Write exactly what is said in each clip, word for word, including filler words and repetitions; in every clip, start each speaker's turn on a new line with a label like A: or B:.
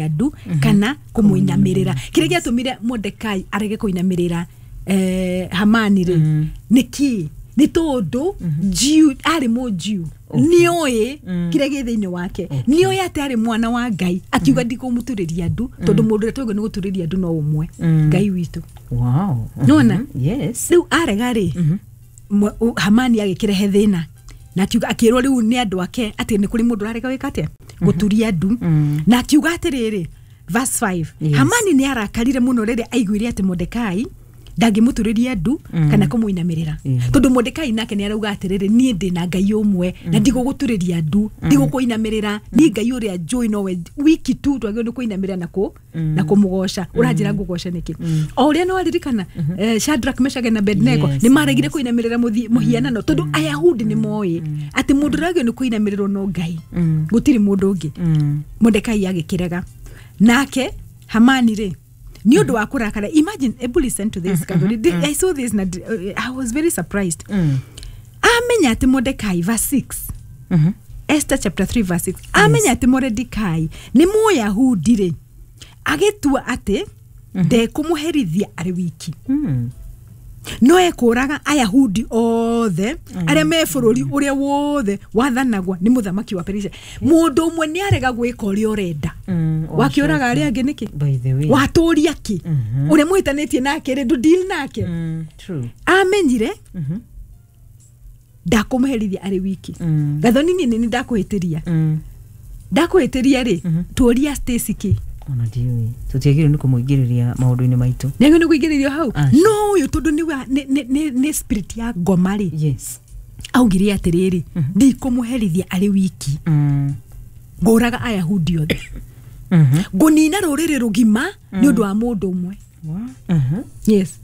A: Ndu kana kũmũinamĩrĩra. Kĩrĩa gĩatũmire Mordekai arege kũinamĩrĩra eh, Hamani rĩ, nĩ kĩ? Nĩ tondũ Jew, arĩ mũJew, nĩoĩ kĩrĩa gĩ thĩinĩ wake, nĩoĩ atĩ arĩ mwana wa Ngai. Akiuga, "Ndikũmũturĩria ndu, tondũ mũndũ ũrĩa twagĩrĩirwo nĩ gũturĩria ndu no ũmwe, Ngai witũ."
B: Wow.
A: Nĩwona?
B: Yes.
A: Rĩu arega rĩ, mwe- u- Hamani agĩkĩrehe thĩna na akiuga, akĩrwo rĩu nĩ andũ ake atĩ nĩ kũrĩ mũndũ ũrarega gwĩka atĩa, gũturia ndu. Na akiuga atĩrĩrĩ, verse five,
B: Yes.
A: Hamani nĩ arakarire mũno rĩrĩa aiguire atĩ Mordekai ndangĩmũturĩria ndu kana kũmũinamĩrĩra,
B: Yeah.
A: tondũ Mordekai nake nĩ arauga atĩrĩrĩ, "Niĩ ndĩ na Ngai ũmwe na ndigũgũturĩria ndu, ndigũkũinamĩrĩra. Niĩ Ngai ũrĩa njũĩ nowe wiki tu twagĩrĩirwo nĩ kũinamĩrĩra na kũ na kũmũgoca. Ũranjĩra ngũgoce nĩkĩ?" O ũrĩa no aririkana eh, Shadrach, Meshach na Abednego
B: Yes,
A: nĩ maregire kũinamĩrĩra mũthi- mũhianano, tondũ Ayahudi nĩ moĩ atĩ mũndũ ũrĩa wagĩrĩirwo nĩ kũinamĩrĩrwo no Ngai, gũtirĩ mũndũ ũngĩ. Mordekai agĩkĩrega. Nake Hamani rĩ, nĩ ũndũ wa kũrakara, imagine, ebu listen to this, Gathoni. I saw this na I was very surprised. Amenya atĩ Mordekai, verse six, Esther chapter three verse six, amenya atĩ Mordekai nĩ Mũyahudi rĩ, agĩtua atĩ ndekũmũherithia arĩ wiki,
B: Mm.
A: no ekũraga Ayahudi othe arĩa me bũrũri ũrĩa wothe wathanagwo nĩ mũthamaki wa Perisia. Mũndũ ũmwe nĩ arega gwĩka ũrĩa ũrenda,
B: Mm,
A: wakĩũraga arĩa angĩ nĩkĩ?
B: By the way.
A: Watũria kĩ? Ũrĩa mũhĩtanĩtie nake rĩ, ndũ deal nake.
B: Mm, true.
A: Amenyire ndakũmũherithia arĩ wiki.
B: Mm.
A: Gathoni, niĩ nĩ ndakũhĩtĩria.
B: Mm.
A: Ndakũhĩtĩria rĩ, tũria Stacy kĩ?
B: Ona ndiũĩ, tũtiagĩrĩirwo nĩ kũmũingĩrĩria maũndũ-inĩ maitũ.
A: Nĩagĩrĩirwo nĩ kũingĩrĩrio hau?
B: Aca.
A: No ũyũ tondũ nĩ wa- nĩ- nĩ- nĩ nĩ spirit ya ngoma rĩ,
B: yes
A: augire atĩrĩrĩ, "Ndikũmũherithia arĩ wiki,
B: mm.
A: ngũraga Ayahudi othe,
B: Mhm.
A: ngũnina rũrĩrĩ rũgima nĩ ũndũ wa mũndũ ũmwe."
B: Wa- Mhm.
A: Yes,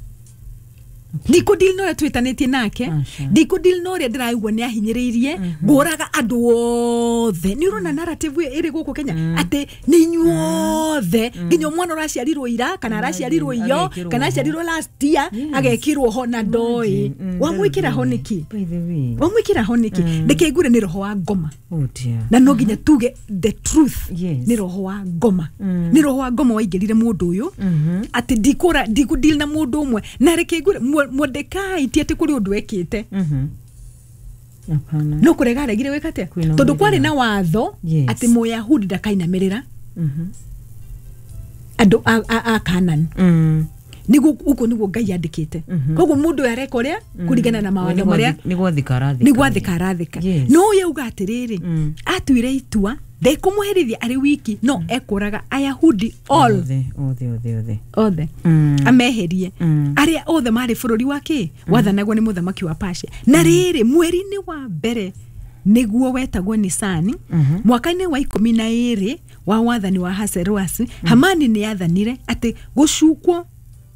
A: ndikũdeal na ũrĩa twĩtanĩtie nake,
B: Aca.
A: ndikũdeal na ũrĩa ndĩraigua nĩ ahinyĩrĩirie, ngũraga andũ othe. Nĩ ũrona narrative ĩyo ĩrĩ gũkũ Kenya atĩ nĩ inyuothe, nginya mwana ũraciarirwo ira kana araciarirwo iyo
B: Agekĩrwo
A: kana
B: ho.
A: aciarirwo last year,
B: Yes.
A: agekĩrwo ho na ndoĩ.
B: Mm,
A: Wamwĩkĩra ho nĩkĩ?
B: By the way.
A: Wamwĩkĩra ho nĩkĩ? Reke ngure, nĩ roho wa ngoma.
B: Oh dear.
A: Na no nginya tuge the truth.
B: Yes.
A: Nĩ roho wa ngoma, nĩ roho wa ngoma waingĩrire mũndũ ũyũ atĩ ndikũra, ndikũdeal na mũndũ ũmwe. Na reke ngure, Mordekai ti atĩ kũrĩ ũndũ ekĩte.
B: Mhm. Hapana.
A: No kũrega aregire gwĩka atĩa?
B: Kũinamĩrĩra.
A: Tondũ kwarĩ na watho
B: Yes.
A: atĩ Mũyahudi ndakainamĩrĩra
B: Mhm.
A: andũ a, a, a Kanan.
B: Mm.
A: Nĩguo ũguo nĩguo Ngai andĩkĩte. Koguo mũndũ ũyũ areka ũrĩa kũringana na mawatho marĩa.
B: Nĩ gwathĩka arathĩka.
A: Nĩ gwathĩka arathĩka.
B: Yes.
A: No ũyũ auga atĩrĩrĩ,
B: Mm.
A: atuire itua ndekũmũherithia arĩ wiki, no ekũraga Ayahudi all.
B: Othe, othe, othe, othe.
A: Othe.
B: Mm.
A: Ameherie
B: Mm.
A: arĩa othe marĩ bũrũri wa kĩ wathanagwo nĩ mũthamaki wa Persia. Na rĩrĩ, mweri-inĩ wa mbere, nĩguo wetagwo Nisani, mwaka-inĩ wa ikũmi na ĩrĩ wa wathani wa Haseroasi, Hamani nĩ athanire atĩ gũcukwo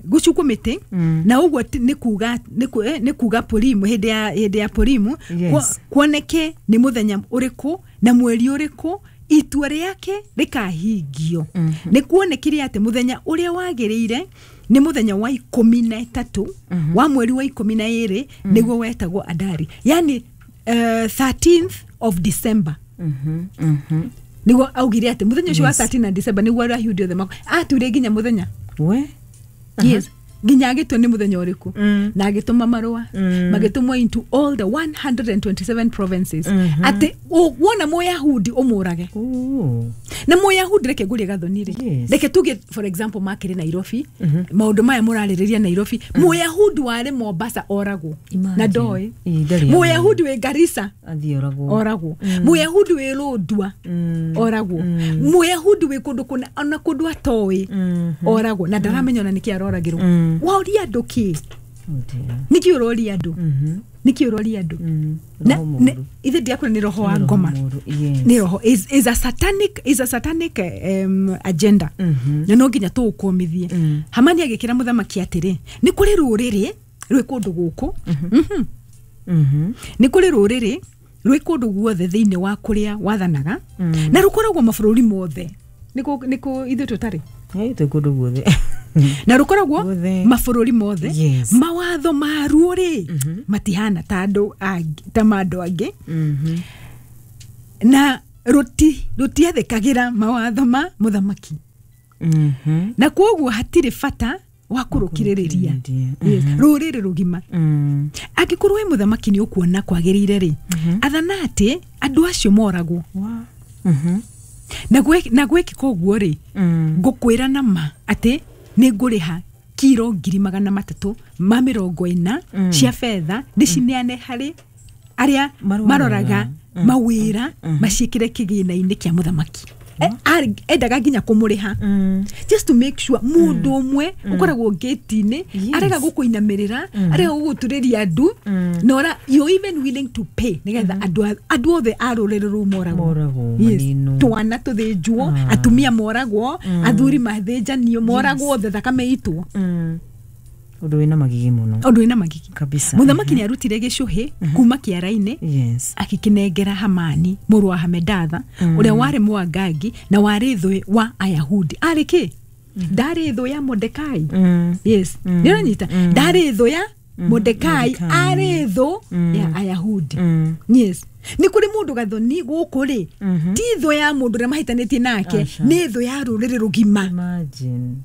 A: gũcukwo mĩtĩ.
B: Mm.
A: Na ũguo ti- nĩ kuga nĩ ku- eh, nĩ kuga Purimu, hĩndĩ ya hĩndĩ ya Purimu,
B: Yes.
A: kuo- kuoneke nĩ mũthenya ũrĩkũ na mweri ũrĩkũ itua rĩake rĩkahingio. Nĩ kuonekire atĩ mũthenya ũrĩa wagĩrĩire nĩ mũthenya wa ikũmi na ĩtatũ wa mweri wa ikũmi na ĩrĩ, nĩguo wetagwo Adari, yani uh, thirteenth of December.
B: Mhm. Mhm.
A: Nĩguo augire atĩ mũthenya ũcio wa
B: Yes.
A: thirteen na December nĩguo Ayahudi othe mako atuire nginya mũthenya.
B: We.
A: Yes, nginya agĩtua nĩ mũthenya ũrĩkũ.
B: Mm.
A: Na agĩtũma marũa,
B: Mm.
A: magĩtũmwo into all the one hundred twenty-seven provinces
B: Mhm.
A: atĩ ũ- wona Mũyahudi ũmũrage.
B: Oh.
A: Na Mũyahudi, reke ngũrie, Gathoni rĩ,
B: Yes.
A: reke tuge for example makĩrĩ Nairobi, maũndũ maya mũrarĩrĩria Nairobi, Mũyahudi warĩ Mombasa oragwo na
B: Imagine.
A: ndoĩ.
B: Ĩ, ndarĩ.
A: Mũyahudi wĩ Garissa
B: athiĩ oragwo.
A: Oragwo. Mũyahudi wĩ Lodwar
B: Mm.
A: oragwo. Mũyahudi wĩ kũndũ kũna ona kũndũ atoĩ
B: Mhm.
A: oragwo, na ndaramenya ona nĩkĩ aroragĩrwo.
B: Mm.
A: Waũria andũ kĩ?
B: Oh dear.
A: Nĩkĩ ũroria andũ?
B: Mhm.
A: Nĩkĩ ũroria andũ?
B: Mm.
A: Na-
B: Roho
A: ne-
B: mũũru.
A: Ithe ndiakwĩra nĩ roho wa
B: Nĩ roho
A: ngoma.
B: mũũru. Yes.
A: Nĩ roho, is, is a satanic is a satanic um, agenda.
B: Mhm.
A: Na no nginya tũũkũmithie.
B: Mm.
A: Hamani agĩkĩra mũthamaki atĩrĩ, nĩ kũrĩ rũrĩrĩ rwĩ kũndũ gũkũ. Mhm.
B: Mhm.
A: Nĩ kũrĩ rũrĩrĩ rwĩ kũndũ guothe thĩinĩ wa kũrĩa wathanaga,
B: Mm.
A: na rũkoragwo mabũrũri mothe. Nĩkũ nĩkũ ithuĩ tũtarĩ?
B: Ĩ, twĩ kũndũ guothe.
A: Na rũkoragwo
B: Guothe.
A: mabũrũri mothe.
B: Yes.
A: Mawatho maruo rĩ, matihana ta andũ angĩ- ta ma andũ angĩ,
B: Mhm.
A: na rũti rũtiathĩkagĩra mawatho ma mũthamaki.
B: Mhm.
A: Na kwoguo hatirĩ bata wa kũrũkirĩrĩria.
B: Kũrũkirĩrĩria.
A: Yes, rũrĩrĩ rũgima.
B: Mm.
A: Angĩkorwo wĩ mũthamaki nĩ ũkuona kwagĩrĩire rĩ, athana atĩ andũ acio moragwo.
B: Wa. Mhm.
A: Na gwĩ- na gwĩkĩka ũguo rĩ,
B: Mm.
A: ngũkwĩra na ma atĩ nĩ ngũrĩha kiro ngiri magana matatũ ma mĩrongo ĩna cia betha, ndĩcineane harĩ arĩa
B: Maroraga.
A: maroraga mawĩra, maciĩkĩre kĩgĩna-inĩ kĩa mũthamaki. E- arĩ- endaga nginya kũmũrĩha
B: Mm.
A: just to make sure mũndũ ũmwe ũkoragwo ngĩti-inĩ
B: Yes.
A: arega gũkũinamĩrĩra, arega gũgũturĩria andu, na ora you're even willing to pay nĩgetha andũ a- andũ othe a rũrĩrĩ rũu moragwo.
B: Moragwo,
A: Yes.
B: maninwo.
A: Twana tũthĩnjwo, atumia moragwo, athuri mathĩnjanio, moragwo othe, thakame itwo.
B: Mm. Ũndũ wĩna magigi mũno.
A: Ũndũ wĩna magigi.
B: Kabisa.
A: Mũthamaki nĩ arutire gĩcũhĩ kuma kĩara-inĩ,
B: Yes.
A: akĩkĩnengera Hamani mũrũ wa Hamedatha, ũrĩa warĩ Mwangangi na warĩ thũ wa Ayahudi. Arĩ kĩ? Ndarĩ thũ ya Mordekai.
B: Mm.
A: Yes, nĩ ũranyita, ndarĩ thũ ya Mordekai,
B: Mordekai.
A: arĩ thũ ya Ayahudi.
B: Mm.
A: Yes, nĩ kũrĩ mũndũ gathoni gũkũ rĩ, ti thũ ya mũndũ ũrĩa mahĩtanĩtie nake,
B: Aca.
A: nĩ thũ ya rũrĩrĩ rũgima.
B: Imagine.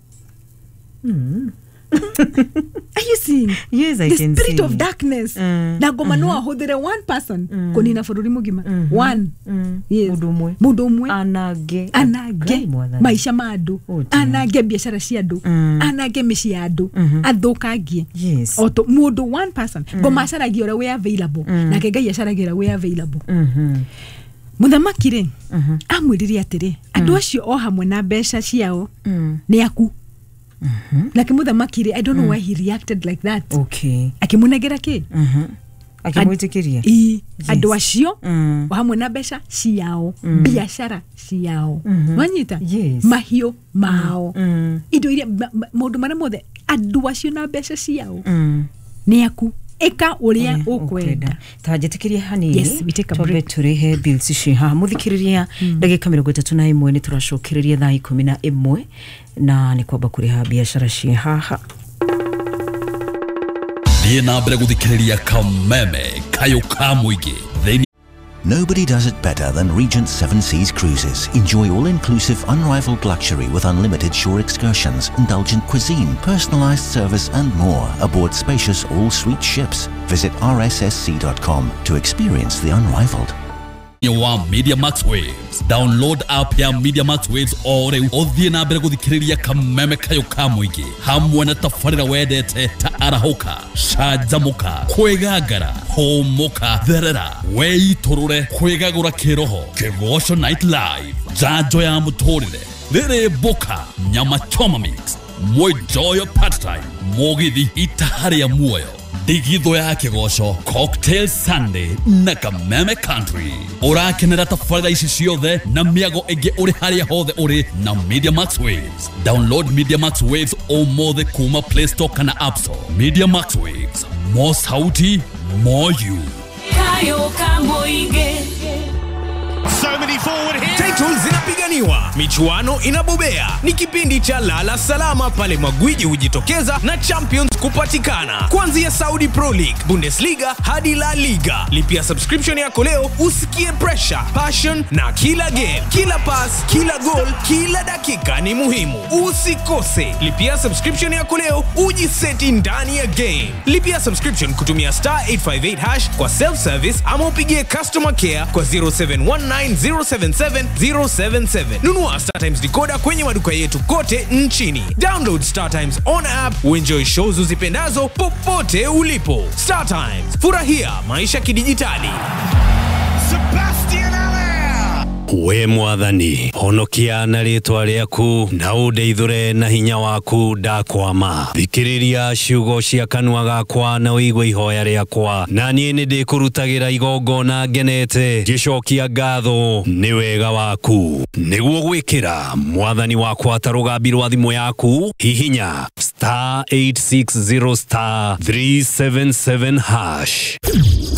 B: Mm.
A: Are you seeing?
B: Yes, I
A: The
B: can
A: spirit
B: see.
A: of darkness.
B: Mm.
A: Na ngoma no ahũthĩre one person kũnina bũrũri mũgima. One.
B: Mm.
A: Yes.
B: Mũndũ ũmwe.
A: Mũndũ ũmwe.
B: Anange.
A: Anange
B: Ngai mwathani.
A: maica ma andũ,
B: Oh, dear.
A: anange biacara cia andũ,
B: Mm.
A: anange mĩciĩ ya andũ, athũkangie.
B: Yes.
A: O to mũndũ, one person. Ngoma acaragia ũrĩa wĩ available, nake Ngai acaragia ũrĩa wĩ available.
B: Mhm.
A: Mũthamaki rĩ, amwĩrire atĩrĩ, andũ acio o hamwe na mbeca ciao
B: Mm.
A: nĩ aku. Nake mũthamaki rĩ, I don't know why he reacted like that.
B: Okay.
A: Akĩmũnengera kĩ?
B: Mhm. Akĩmwĩtĩkĩria.
A: Ii, andũ acio
B: Mm.
A: o hamwe na mbeca ciao, biacara ciao, nwanyita,
B: Yes.
A: mahiũ mao,
B: Mm.
A: indo iria ma- ma- maũndũ marĩa mothe, andũ acio na mbeca ciao
B: Mm.
A: nĩ aku, ĩka ũrĩa ũkwenda.
B: Ta njĩtĩkĩrie hanini.
A: Yes, we take a
B: twambe
A: break.
B: tũrĩhe bills ici haha. Mũthikĩrĩria, ndagĩka mĩrongo ĩtatũ na ĩmwe nĩ tũracokereria thaa ikũmi na ĩmwe, na nĩ kwamba kũrĩha biacara ciĩ haha.
C: Thiĩ na mbere gũthikĩrĩria Kameme Kayũ ka mũingĩ thĩinĩ.
D: Nobody does it better than Regent Seven Seas Cruises. Enjoy all-inclusive, unrivaled luxury with unlimited shore excursions, indulgent cuisine, personalized service and more aboard spacious all-suite ships. Visit R S S C dot com to experience the unrivaled.
C: Wa Media Max Waves. Download app ya Media Max Waves o rĩu, ũthiĩ na mbere gũthikĩrĩria Kameme Kayũ ka mũingĩ hamwe na tabarĩra wendete ta Arahũka, Canjamũka, Kwĩgangara, Hũmũka, Therera, Weitũrũre, Kwĩgagũra Kĩroho, Kĩgoco Night Live, Njanjo ya Mũtũrĩre, Rĩrĩ Mbũka, Nyama Choma Mix, Mwĩnjoyo Part Time, Mũgithi Itaha rĩa Muoyo, Ndigithũ ya Kĩgoco, Cocktail Sunday na Kameme Country. Ũrakenera tabarĩra ici ciothe na mĩago ĩngĩ ũrĩ harĩa hothe ũrĩ na Media Max Waves. Download Media Max Waves ũmũthĩ kuma Play Store kana App Store. Media Max Waves, more sauti, more you.
E: Kayo Kamoige.
F: So many forward here.
G: Titles zinapiganiwa, michuano inabobea. Ni kipindi cha Lala Salama pale magwiji hujitokeza na champions kupatikana. Kuanzia Saudi Pro League, Bundesliga hadi La Liga. Lipia subscription yako leo usikie pressure, passion na kila game, kila pass, kila goal, kila dakika ni muhimu. Usikose. Lipia subscription yako leo ujiseti ndani ya game. Lipia subscription kutumia star eight five eight hash kwa self service ama upigie customer care kwa zero seven one nine zero seven seven zero seven seven. Nunua Star Times decoder kwenye maduka yetu kote nchini. Download Star Times on app uenjoy shows uzipendazo popote ulipo. Star Times, furahia maisha kidijitali.
F: Sebastian Allaire.
H: We Mwathani, honokia na rĩtwa rĩaku na ũndeithũre na hinya waku. Ndakwama, thikĩrĩria ciugo cia kanua gakwa na ũigue ihoya rĩakwa, na niĩ nĩ ndĩkũrutagĩra igongona ngenete, ngĩcokia ngatho nĩ wega waku. Nĩguo gwĩkĩra Mwathani wakwa ta rũgambi rwa thimũ yaku, hihinya star eight six zero star three seven seven hash.